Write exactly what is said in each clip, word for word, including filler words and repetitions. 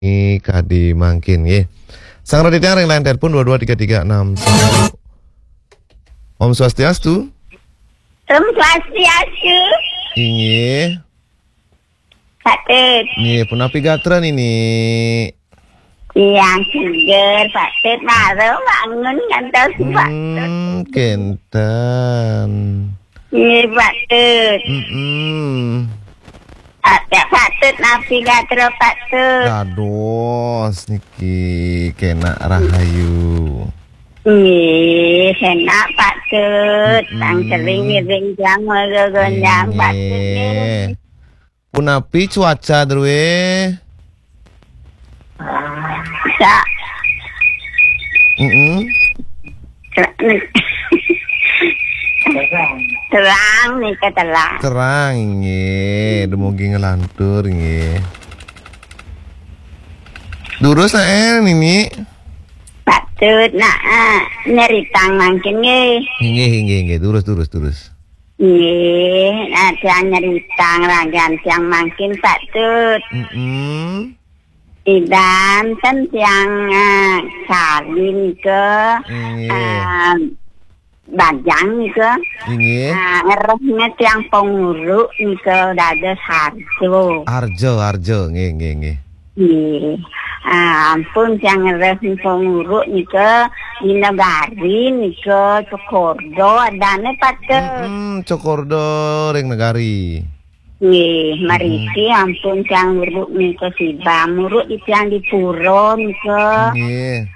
Niki kadi mangkin nggih. Sang Raditya ring line telepon dua dua tiga tiga enam satu. Om Swastiastu. Om Swastiastu. Inggih. Pak Tut. Nggih, punapi gatra niki? Tiang seger, Pak Tut, mara bangun ngantos, Pak Tut. Hmm, kenten. Nggih, Pak Tut. Mm-mm. Ada Pak Tut, napi gatra Pak Tut? Dados niki kenak rahayu. Nggih, kenak Pak Tut. Tang Mm-mm. Sering ngiring jam gonjang Pak Tut nggih. Nggih. Punapi cuaca druwe? Sa- Mm-mm. Terang nika, terang. Terang nggih, dumugi nglantur nggih. Durus nae niki? Pak Tut, nah, ah, nyeritang mangkin nggih. Nggih, nggih, nggih, durus, durus, durus. Nggih, nah, tiang nyeritang ragan tiang mangkin Pak Tut. Mm-mm. Idan ten tiang, ah, sari nika, nggih. Ah, bajang nika. Inggih. Ah, ngerehne tiang penguru nika dados harjo. Harjo, harjo, nggih, nggih, nggih. Nggih. Ah, ampun tiang ngereh penguru nika di negari nika Cokordo adane Pak Tut. Mm-mm, Cokordo ring negari. Nggih, mariki ampun tiang nguruk nika sibam, nguruk di tiang di pura nika. Nggih.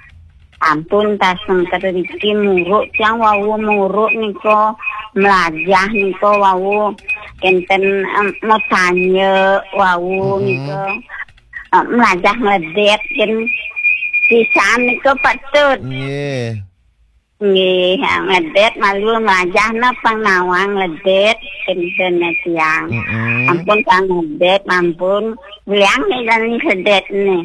Ampun taseng riki nguruk tiang wau nguruk nika, melajah nika wau kenten, em, metanya wau nika. Em, melajah ngledet ken pisan nika Pak Tut. Nggih. Nggih, ngledet malu melajahna pang nawang ngledet kenten tiang. Mm-mm. Ampun pang ngledet, ampun. Wéang nih jani sedetne.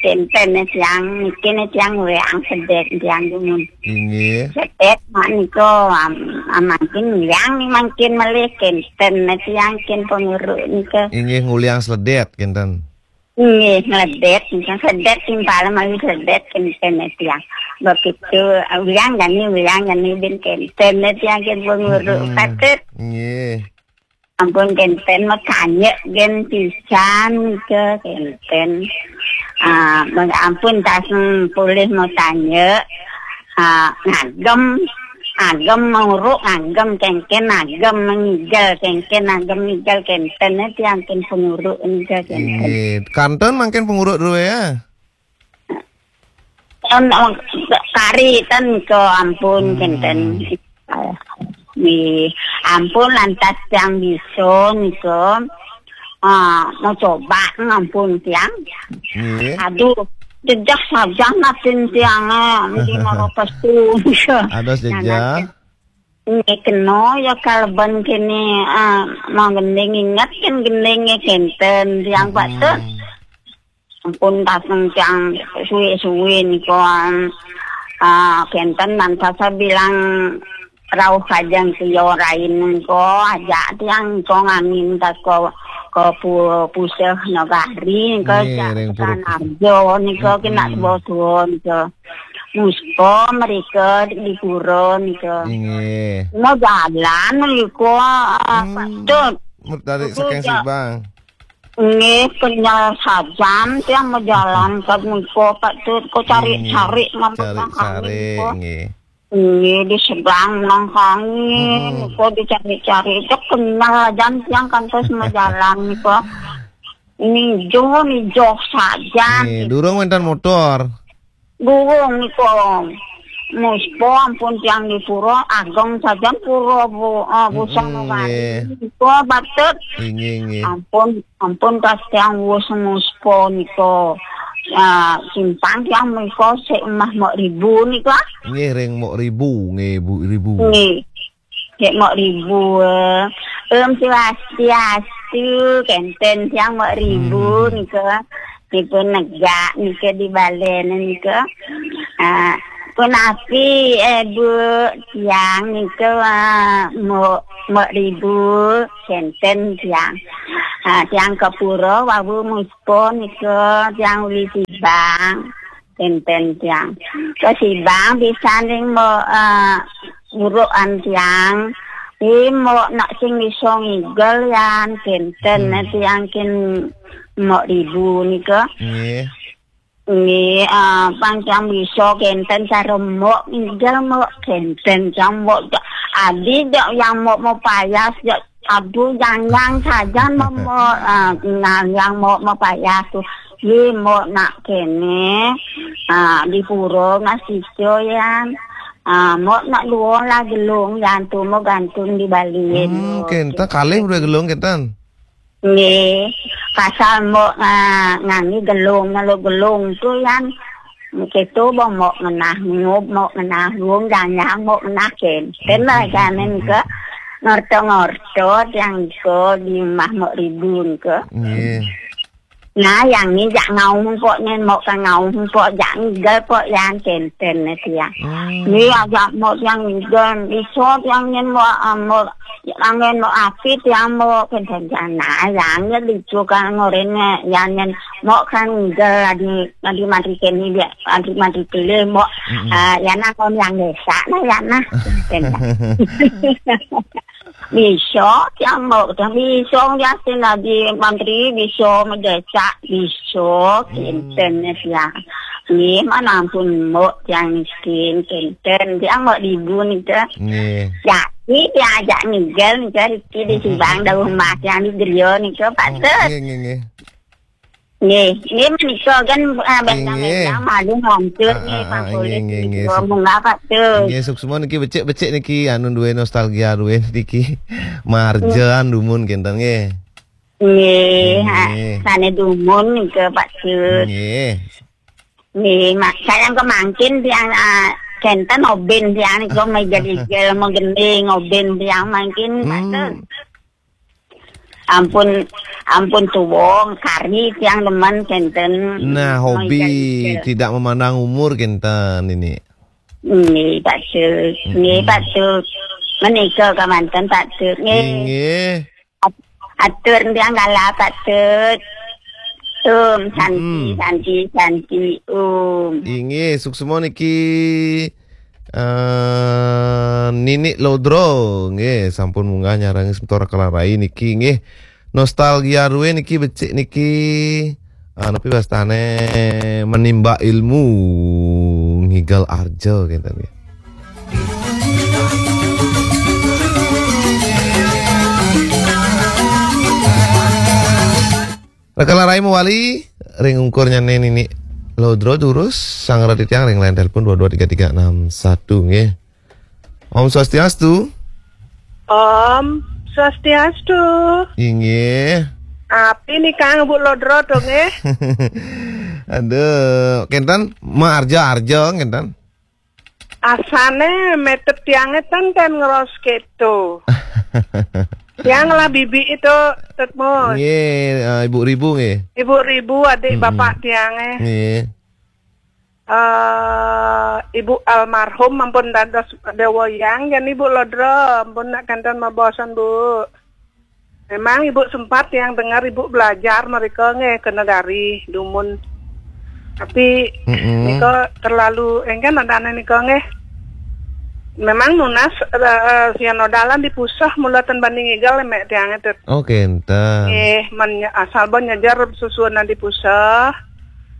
Kenten tiang, niki nih tiang wéang sedet tiang dumun. Inggih. Sedet mak nika am-, amangkin wéang nih mangkin malih kenten tiang ken penguru nika. Inggih nguliang sedet kenten. Nggih, ngledet, sedet timpal mawi sedet kenten tiang. Begitu, wéang jani, wéang jani bin kenten tiang ken penguru. Hmm. Patut. Nggih. Ampun kenten makanya gen pisan ke kenten. Ah, ampun taseng polih makanya. Ah, ngagem, agem menguruk, ngagem kengken, agem mengigel kengken, agem ngigel kenten, eh, tiang ken penguruk nika kenten. Inggih. Kantun mangkin penguruk dulu ya. Em, em, kari ten ke ampun kenten. Nggih, ampun lantas tiang bisa nika. Ah, mau coba ngampun tiang. Nggih. Aduh, jejak saja natin tiang, eh, mesti mau pestu. Ados jejak. Nggih, kena ya kalben kene, ah, mau gending ingat kan gendingnya kenten tiang Pak Tut. Ampun taseng tiang suwe-suwe nika, ah, kenten mantas bilang rauh kajeng tiang rain nika, ajak tiang nika ngangin tas ka, ka pu-, puseh nagari nika, nggih, jak ring Puruk. Arjo nika kena sebuah nika. Muspa mereka di pura nika. Nggih. Mau jalan nika, ah, Pak Tut. Mer-, dari saking Sibang. Nggih, kenyel sajan tiang majalan ka nika, Pak Tut, ko cari-cari. Hmm, cari-cari, nggih. Nggih, di sebelah nang kangin, ko dicari-cari, cek kenyel sajan tiang kantos majalan nika. Nijo, nijo sajan. Nggih, durung wénten motor. Durung nika. Muspa ampun tiang di pura, ageng sajan pura, Bu, ah, Bu Sanubari. Nggih. Nika, Pak Tut. Nggih, nggih. Ampun, ampun kas tiang wus muspa nika. Ah, simpang tiang nika sik emah Mok Ribu nika. Nggih, ring Mok Ribu, nggih, Bu Ribu. Nggih. Cek Mok Ribu, eh. Om Swastiastu, kenten tiang Mok Ribu nika. Nipun negak nika di balen nika. Ah, Punapi, eh, Bu, tiang nika, ah, Mbok, Mbok Ribu, kenten tiang. Ah, tiang ka pura wau muspon nika, tiang uli Sibang, kenten tiang. Ka Sibang pisan ring Mbok, ah, urukan tiang. Ih, Mbok nak sing bisa ngigel yan, kenten. Hmm. Tiang kin Mbok Ribu nika. Nggih. Nggih, ah, pang tiang bisa kenten cara Mbok, nggih Mbok kenten tiang Mbok. Adi dek yang Mbok mau payas dek, aduh, yang, yang sajan Mbok, Mbok, ah, nah, yang Mbok mau payas tu. Nggih, Mbok nak kene, ah, di pura mas ijo yan. Ah, Mbok nak luwung lah gelung yan tu, Mbok gantung di bali. Hmm, Mbok kenten kalih udah gelung kenten. Nggih, pasal Mbok, ah, ngangge gelung, ngelu gelung tu yan. Keto Mbok, Mbok ngenah ngub, Mbok ngenah luwung, janyang Mbok ngenah kenten lah, hmm, jane hmm, ke hmm. Ngorto-ngorto tiang ke di rumah Mbok Ribu ke. Nggih. Nah, yang ni jak ngau Mbok nyen, Mbok ka ngau Mbok jak ngigel Mbok yan kenten tiang. Hmm. Ni ajak Mbok tiang ngigel, iso tiang nyen Mbok, ah, Mbok Angen Mbok api tiang Mbok kenten jana, yang ya dicu kan ngoren ya, yang nyen Mbok kan ngigel adi, adi mati kene dia, adi mati kele Mbok, mm-mm. Ah, ya nah kon yang desa nah ya nah. Kenten. Bisa tiang Mbok, tiang bisa ya sin adi mantri, bisa mendesak, bisa, hmm, kenten ya tiang. Nggih, mana ampun Mbok tiang miskin, kenten tiang Mbok Ribu nika. Nggih. Ya, ni diajak ngigel nika, Riki di Sibang, dauh rumah tiang di griya nika, Pak Tut. Oh, nggih, nggih, nggih. Nggih, nggih menika kan, ah, bendang-bendang malu hancur nggih, ah, ah, Pak Kulit nggih, nggih, nggih, nggih, munggah, Pak Tut. Nggih, suksma niki becik-becik niki, anu, duwe nostalgia, duwe niki. Marjan dumun kenten nggih. Nggih, ha, nggih. Sane dumun nika, Pak Tut. Nggih. Nggih, mak, sayang kemangkin tiang, ah, kenten oben tiang nika, megal-igel, megending oben tiang mangkin, Pak Tut. Hmm. Ampun, ampun tuwung, kari tiang demen kenten. Nah, hobi megal-igel. Tidak memandang umur kenten ini. Nggih, Pak Tut. Mm-mm. Nggih, Pak Tut. Menika kemanten, Pak Tut. Nggih. Nggih. At-, atur tiang kala, Pak Tut. Om Santi, mm-mm, Santi, Santi, Om. Inggih, suksma niki, eh, Nini Lodro, nggih, sampun munggah nyarengi semeton Kelarai niki, nggih. Nostalgia ruwe niki becik niki. Ah, napi wastane menimba ilmu, ngigel arja, kenten nggih. Raka Larai mawali, ring ungkur nyane Nini Lodro durus, sang rati tiang ring line telepon dua dua tiga tiga enam satu, nggih. Om Swastiastu. Om Swastiastu. Inggih. Api ni Kang Bu Lodro to, nggih? Aduh, kenten, ma arja-arja, kenten. Asane metet tiange ten, ten ngeros keto. Tiang lah bibi itu, Tut Mus. Nggih, eh, Ibu Ribu nggih. Ibu Ribu, adik, mm-mm, bapak tiange. Nggih. Eh, Ibu almarhum ampun dados dewa yang, yen Ibu Lodro, ampun nak kenten mabosan, Bu. Memang Ibu sempat yang dengar Ibu belajar mereka nggih ke negari, dumun. Tapi, mm-mm, nika terlalu, engken adane nika nggih. Memang nunas, eh, eh, sian odalan di puseh mula ten banding igal mek tiange, Tut. Oh, kenten. Nggih, men-, asal bon nyejer susunan di puseh.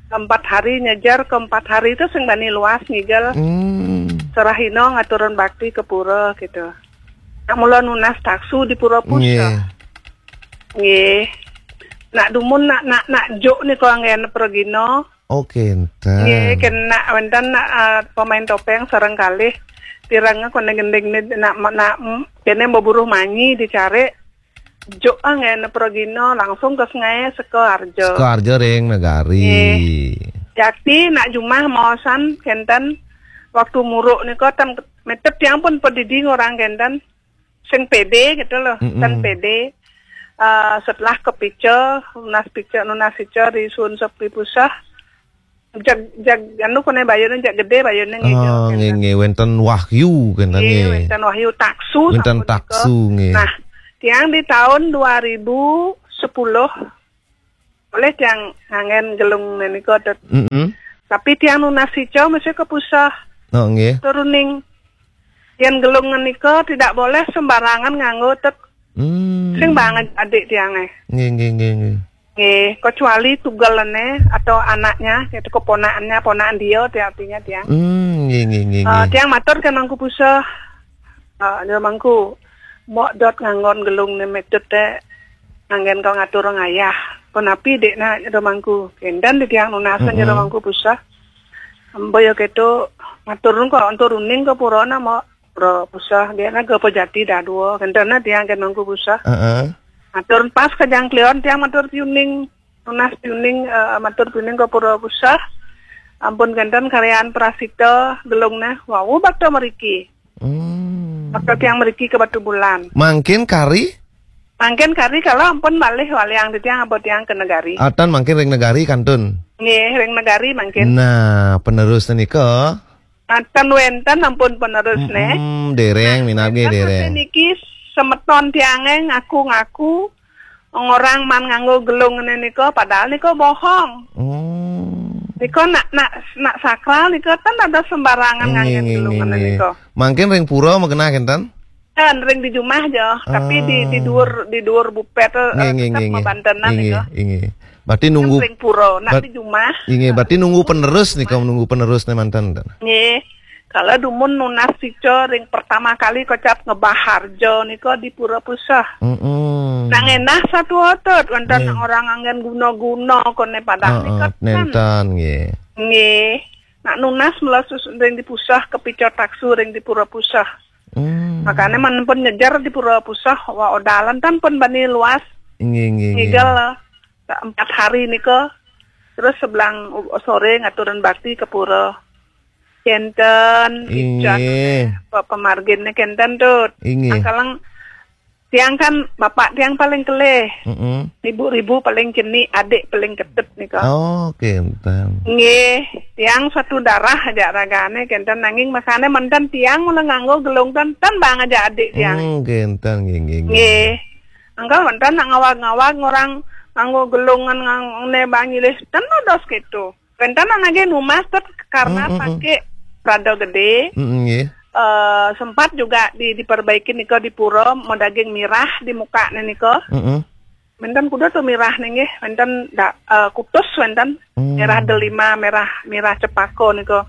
Empat hari nyejer, ke empat hari itu sing bani luas ngigel. Hmm. Serahino ngaturun bakti ke pura gitu. Nak mula nunas taksu di pura puseh. Nggih. Nggih. Nak dumun nak, nak, nak juk nika anggen pragina. Oh, kenten. Nggih, kena wenten nak, ah, pemain topeng sareng kalih. Pireng kone gending ni nak, nak, mm, kene mbeburuh manyi dicari. Juk anggen pragina langsung ke sungai Seka Arja. Seka Arja ring Negari. Nggih. Yakti nak jumah maosan kenten waktu muruk nika ten metet tiang pun pedidi ngorang kenten. Sing pede gitu loh, mm-mm, ten pede. Eh, setelah kepica, nunas pica, nunas pica di sun sepi puseh. Jag, jag, anu, kone bayune, jag gede bayune nggih, Oh, nggih, nggih, wenten wahyu, kenten, nggih, nggih. Wenten wahyu taksu, Wenten sampun taksu, nika. Nggih. Nah, tiang di tahun dua ribu sepuluh, oleh tiang nganggen gelung menika, Tut. Mm-mm. Tapi tiang nunas ica mesti kepusah. Oh, nggih. Turuning yen gelung menika tidak boleh sembarangan nganggo, Tut. Hmm. Sing banget adik tiange. Nggih, nggih, nggih, nggih. Nggih, kecuali tugelane atau anaknya, gitu, keponakannya, ponakan dia, artinya tiang. Hmm, nggih, nggih, nggih, Eh, nggih. Tiang matur ke Mangku Puseh. Eh, ya Mangku, mok dot nganggon gelung ne metut te, nganggen kau ngatur ngayah. Penapi dek nak, ya Mangku. Kendan di tiang nunasan, ya Mm-mm. Mangku Puseh. Ambo ya keto, matur kok, antur uning ke purona, mok. Pura Puseh, dia naga pejati dah dua. Kendan na tiang ke Mangku Puseh. Heeh. Matur pas ke jangklion, tiang matur piuning. Nunas piuning, eh, matur piuning ke Pura Puseh. Ampun kenten karyan prasita gelung neh. Wau bakta meriki. Hmm. Bakta tiang meriki ke Batu Bulan. Mangkin kari? Mangkin kari kalau ampun malih waliang di tiang apa tiang ke negari. Atan mangkin ring negari kantun. Nggih, ring negari mangkin. Nah, penerus nika. Atan wenten ampun penerus neh. Mm-mm, dereng, Nah, minab nggih, wenten dereng. Niki semeton tiange ngaku-ngaku ngorang man nganggo gelung ngene nika, padahal nika bohong. Hmm. Nika nak, nak, nak sakral nika tan ada sembarangan Nggih, nganggen nggih, gelung nggih, ngene nggih. Nika. Mangkin ring pura magenah kenten? Kan ring di jumah jo, tapi di, di Ah. Dhuwur, di dhuwur bupet, eh, Nggih, nggih, tetep nggih, nggih. Mabantenan Nggih, nika. Nggih. Berarti nunggu Kan ring pura, nak ber-, di jumah. Nggih, berarti nunggu penerus nika, nunggu penerus ne manten. Nggih. Kalau dumun nunas ica ring pertama kali kocap ngebah harjo nika di Pura Puseh. Mm-mm. Nang endah satu otot, wonten Nggih. Orang anggen guna-guna kone padahal Heeh, nika ten. Nenten, nggih. Nggih. Nak nunas melesus ring di Puseh, kepica taksu ring di Pura Puseh. Hmm. Makane man pun nyejar di Pura Puseh, wa odalan tan pun bani luas. Nggih, nggih, nggih. Ngigel, eh, empat hari nika. Terus sebelang u-, sore ngaturan bakti ke pura. Kenten, Inggih. Ican, pe-, pemarginnya kenten, Tut. Inggih. Angkalang tiang kan bapak tiang paling kelih. Mm-mm. Ibu-ibu paling cenik, adik paling ketut nika. Oh, kenten. Nggih, tiang satu darah aja ragane kenten nanging makane mantan tiang mula nganggo gelung tan, tan bang aja adik tiang. Hmm, kenten, nggih, nggih, nggih. Nggih. Angkal mantan nak ngawag-ngawag orang nganggo gelungan ngang-, ne bang nyilih tan dos gitu. Wenten nage numas tet karena Mm, mm, mm. Pakai prada gede. Mm, mm, nggih. Eh, sempat juga di, diperbaiki nika di pura, mau daging mirah di muka nika. Mm, mm. Wenten kuda tuh mirah nggih, wenten da-, eh, kutus wenten. Hmm. Merah delima, merah, merah cepako nika.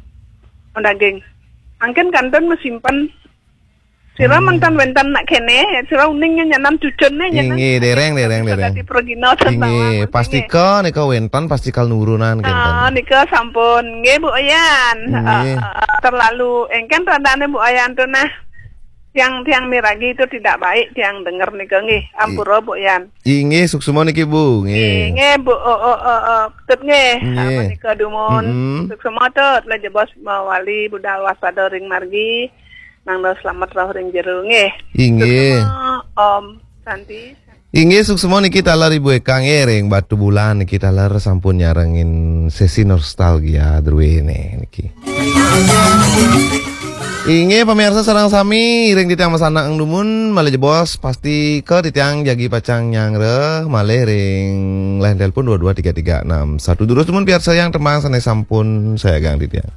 Mau daging. Mangkin kanten mesimpen. Sira Hmm. Mantan wenten nak kene, sira uning nyanan cucunne nyanan. Inggih, dereng, dereng, bisa dereng. Dadi pragina. Inggih, sembawang, pastika nika wenten, pastika nurunan kenten. Ah, nika sampun. Nggih, Bu Ayan. Nggih. Ah, ah, ah, terlalu engken tandane Bu Ayan tuh nah. Tiang-tiang miragi itu tidak baik, tiang denger nika nggih. I- Ampura, Bu Ayan. Inggih, suksma niki, Bu. Nggih. Nggih, nggih, Bu. Oh, oh, oh, oh. Tut nggih. Nggih. Apa nika dumun? Mm-mm. Suksma Tut, lah jebos mawali budal waspada ring margi. Nang selamat rauh ring jero nggih. Inggih. Suksma, Om Santi. Inggih, suksma niki taler Ibu Eka nggih ring Batu Bulan niki taler sampun nyarengin sesi nostalgia druene niki. Inggih, pamirsa sareng sami, ring titiang masanak dumun, malih jebos, pastika titiang jagi pacang nyangreh, malih ring line telepon dua dua tiga tiga enam satu. Durus dumun piarsayang tembang sane sampun sayagang titiang.